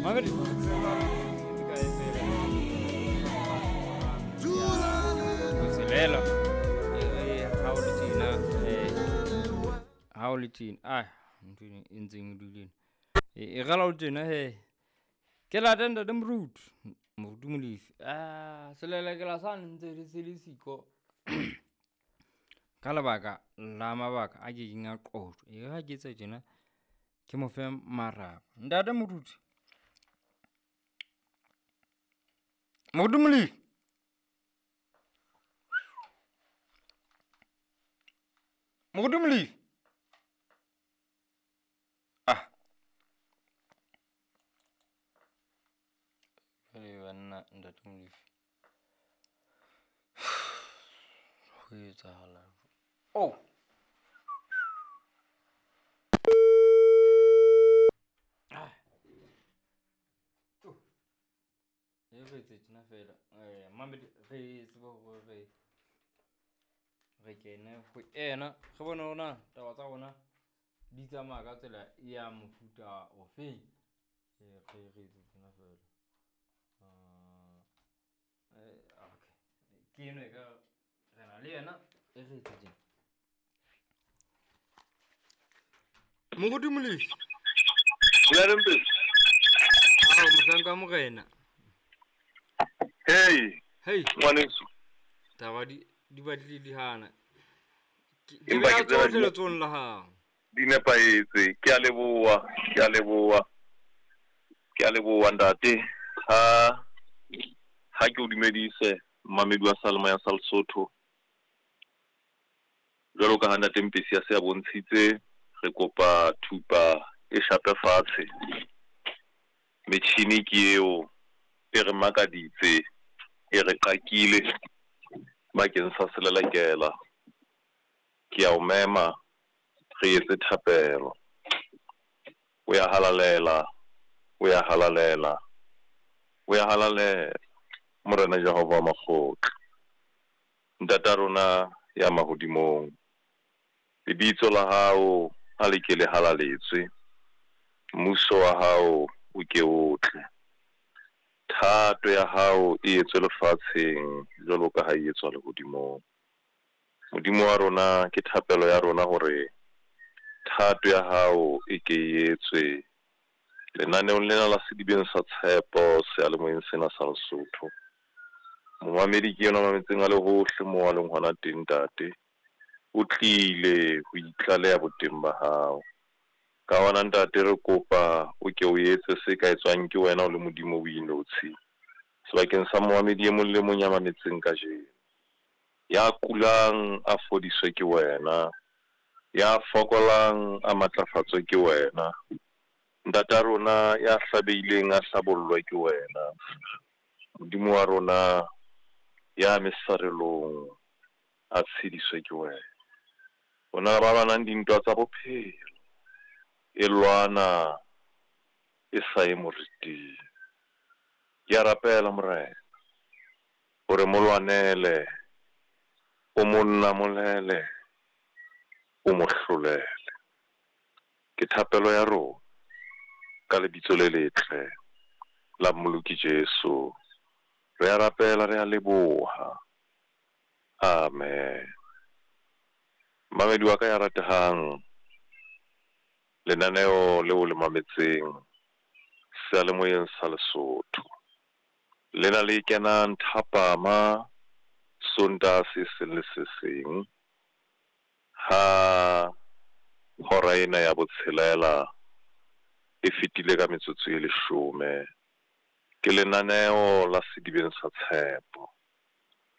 Mamedi. Botshelela. Ha o le tjena, ha o le tjena, ah, ntho e ntseng e dule e rala o tjena he. Ke lata ntate Moruti, Moruti Molefi. Ah, selelekela sane ntse re se le siko. Ka lebaka la mabaka a kekeng a qojwa. E ha ke etsa tjena, ke mo fe maraba. Ntate Moruti. Moruti Molefi. Moruti Molefi. Ah. Jwale banna ntate Molefi. Ho etsahala. Oh. Ah. Oh. E re etse tjena fela. Mamedi re tsebe hore re kene ho ena, re bone hore na taba tsa rona di tsamaya ka tsela ya mofuta ofeng. Re etse tjena fela. Okay. Ke eno e ka re na le yena, e re etse tjena. Moruti Molefi. Ao, mohlanka morena. Hey. Hey. Ngwaneso. Taba di batlile di hana. Ke beha tsohle letsohong la hao. Di nepahetse. Ke a leboha, ke a leboha. Ke a leboha ntate. Ha ke o dumedise mmamedi wa Seyalemoya sa Lesotho. Jwalo ka ha ntate Mpesi a se a bontshitse, re kopa thupa e shape fatshe. Metjhini ke eo e re makaditse, e re qakile bakeng sa selelekela. Ke a o mema re etse thapelo. O ya halalela, o ya halalela, o ya halalela Morena Jehova wa makgotla. Ntata rona ya mahodimong, lebitso la hao a le ke le halaletswe, mmuso wa hao o ke o tle, thato ya hao e etswe lefatsheng jwalo ka ha e etswa lehodimong. Modimo wa rona, ke thapelo ya rona hore thato ya hao e ke e etswe lenaneong lena la Sedibeng sa Tshepo seyalemoyeng sena sa Lesotho. Momamedi ke yena mametseng a le hohle moo a leng hona teng ntate, o tlile ho itlaleha boteng ba hao. Ka hona ntate re kopa o ke o etse se ka etswang ke wena o le Modimo o inotshi sebakeng sa momamedi e mong le mong ya mametseng kajeno. Ya kulang a fodiswe ke wena, ya fokolang a matlafatswe ke wena, ntata rona ya hlabehileng a hlabollwe ke wena. Modimo wa rona ya mesarelong a tshediswe ke wena. Rona ba lwanang dintwa tsa bophelo, e lwana e sa ye moriting. Ke a rapela Morena hore mo lwanele, o mo namolele, o mo hlolele. Ke thapelo ya rona ka lebitso le letle la Mmoloki Jesu. Re a rapela, re a leboha. Amen. Mamedi wa ka ya ratehang, lenaneo leo le mametseng seyalemoyeng sa Lesotho lena le kenang thapama Sontaha se seng le se seng ha hora ena ya botshelela e fetile ka metsotso e 10. Ke lenaneo la Sedibeng sa Tshepo,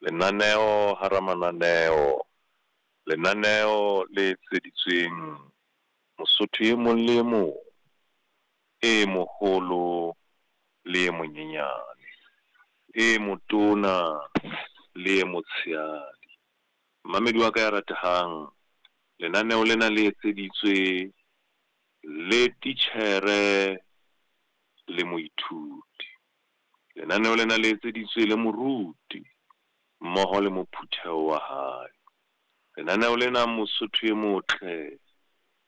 lenaneo hara mananeo, lenaneo le etseditsweng Mosotho e mong le e mong, e moholo le e monyenyane, e motona le e motshehadi. Mamedi wa ka ya ratehang, lenaneo lena le etseditswe le titjhere le moithuti. Lenaneo lena le etseditswe le moruti mmoho le mophutheho wa hae. Lenaneo lena Mosotho e motle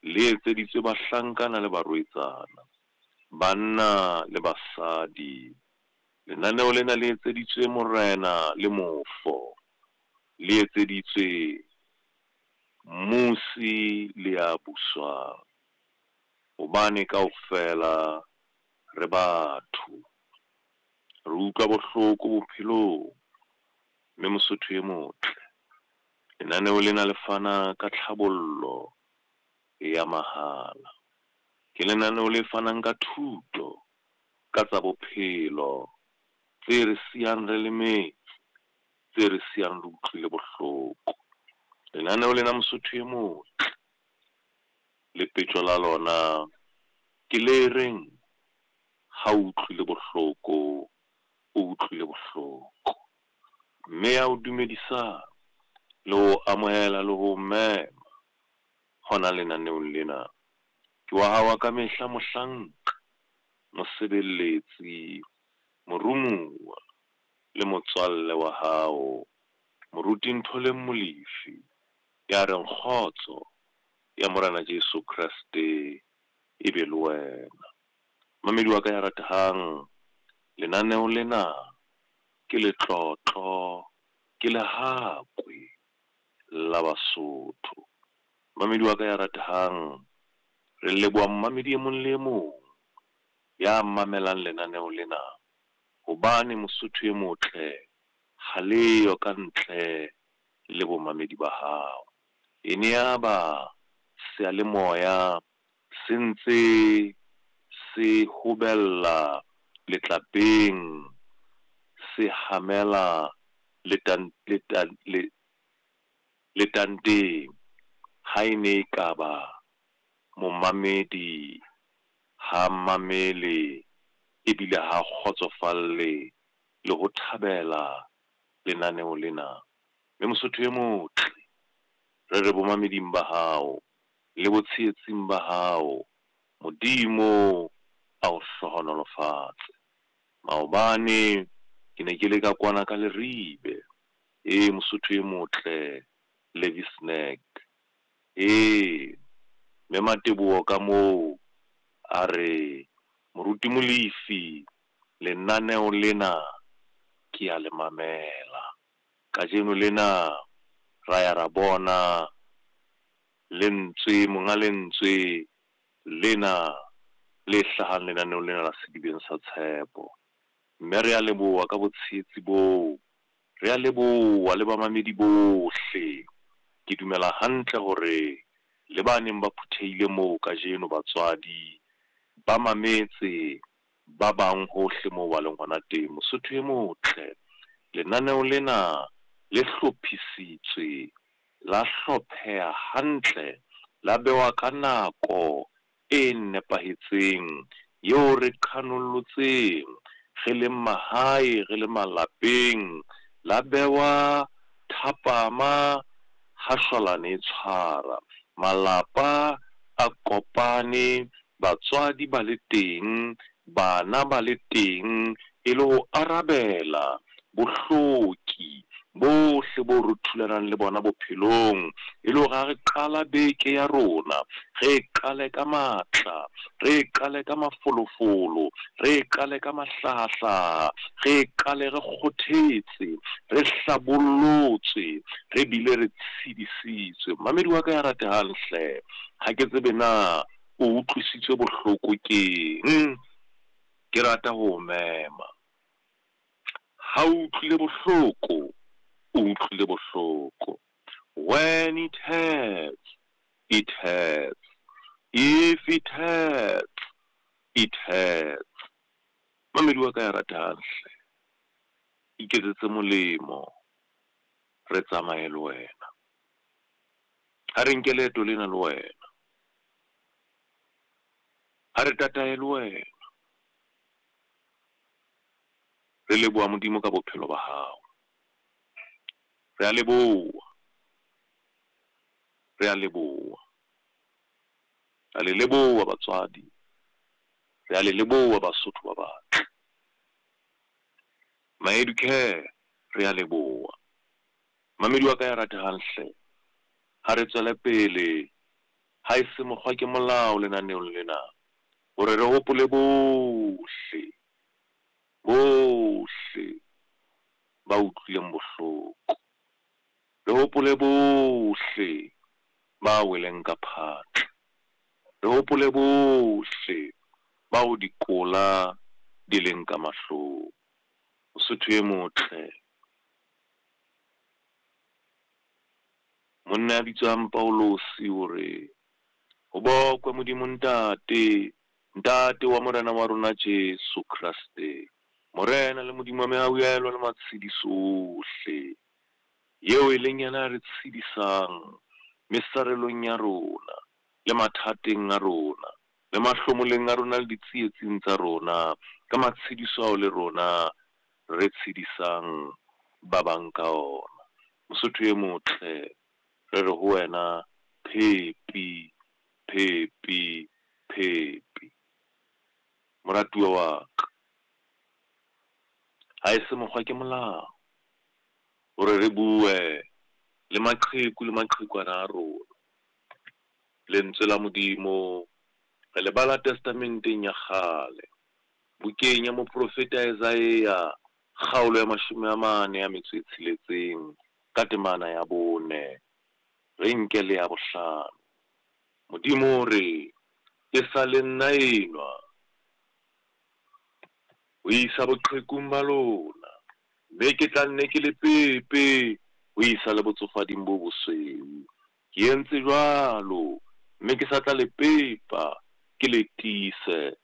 le etseditswe bahlankana le barwetsana, Banna le basadi, lenaneo lena le etseditswe morena le mofo, le etseditswe mmusi le ya buswang, hobane kaofela re batho. Re utlwa bohloko bophelong, mme Mosotho e motle, lenaneo lena le fana ka tlhabollo ya mahala. Ke lenaneo le fanang ka thuto ka tsa bophelo tse re siyang re lemetse, tse re siyang re utlwile bohloko. Lenaneo lena Mosotho e motle, lepetjo la lona ke le reng ha o utlwile bohloko, o utlwile bohloko. Mme ya o dumedisang le ho amohela le ho mema hona lenaneong lena, ke wa hao wa ka mehla mohlanka, mosebeletsi, morumuwa le motswalle wa hao, Moruti Ntholeng Molefi, ya reng kgotso ya Morena Jesu Kreste e be le wena. Mamedi wa ka ya ratehang, lenaneo lena ke letlotlo, ke lehakwe la Basotho. Mamedi wa ka ya ratehang, re leboha momamedi e mong le e mong ya mamelang lenaneo lena, hobane Mosotho e motle ha leyo ka ntle le bomamedi ba hao. E ne ya ba seyalemoya se ntse se hobella letlapeng, se hamela letanteng ha e ne e ka ba momamedi ha mamele ebile ha kgotsofalle le ho thabela lenaneo lena. Mme Mosotho e motle, re re bomameding ba hao le botshehetsing ba hao, Modimo a o hlohonolofatse. Maobane ke ne ke le ka kwana ka Leribe, ee Mosotho e motle, Levi Snack. Ee, mme Mateboho ka moo a re Moruti Molefi lenaneo lena ke ya le mamela. Kajeno lena ra ya ra bona lentswe, monga lentswe lena le hlahang lenaneong lena la Sedibeng sa Tshepo. Mme re a leboha ka botshehetsi boo, re a leboha le bamamedi bohle. Ke dumela hantle hore le ba neng ba phuthehile moo kajeno batswadi ba mametse ba bang hohle moo ba leng hona teng. Mosotho e motle, lenaneo lena le hlophisitswe, la hlopheha hantle, la bewa ka nako e nepahetseng eo re qhanolotseng re leng mahae, re le malapeng, la bewa thapama ha shwalane e tshwara. Malapa a kopane, batswadi ba le teng, bana ba le teng, e le ho arabela bohloki bohle bo re thulanang le bona bophelong, e le hore ha re qala beke ya rona, re e qale ka matla, re e qale ka mafolofolo, re e qale ka mahlahahlaha, re e qale re kgothetse, re hlabollotswe, re bile re tshedisitswe. Mamedi wa ka ya ratehang hle, ha ke tsebe na o utlwisitswe bohloko keng, ke rata ho o mema. Ha o utlwile bohloko, o utlwile bohloko. When it hurts, it hurts. If it hurts, it hurts. Mamedi wa ka ya ratehang hle, iketsetse molemo, re tsamaye le wena. Ha re nke leeto lena le wena. Ha re tataye le wena. Re leboha Modimo ka bophelo ba hao. Re a leboha. Re a leboha. Re a le leboha batswadi. Re a le leboha Basotho ba batle. Ma-Educare, re a leboha. Mamedi wa ka ya ratehang hle, ha re tswele pele, ha e se mokgwa ke molao lenaneong lena. Hore re hopole bohle, bohle ba utlwileng bohloko. Re hopole bohle ba weleng ka phatla. Re hopole bohle bao dikola di leng ka mahlong. Mosotho e motle, monna ya bitswang Paulose o re, Ho bokwe Modimo Ntate, Ntate wa Morena wa rona Jesu Kreste, Morena le Modimo wa mehauhelo le matshediso ohle, eo e leng yena ya re tshedisang mesarelong ya rona le mathateng a rona le mahlomoleng a rona le ditsietsing tsa rona, ka matshediso ao le rona re tshedisang ba bang ka ona. Mosotho e motle, re re ho wena, Phepi, phepi, phepi. Moratuwa wa ka, ha e se mokgwa ke molao hore re bue le maqheku le maqhekwana a rona. Lentswe la Modimo re le bala Testamenteng ya Kgale, bukeng ya moprofeta Esaia, kgaolo ya 46, ka temana ya 4, re nke le ya 5. Modimo o re, Ke sa le nna enwa, ho isa boqhekung ba lona, mme ke tla nne ke le pepe ho isa le botsofading bo bosweu. Ke entse jwalo, mme ke sa tla le pepa, ke le tiise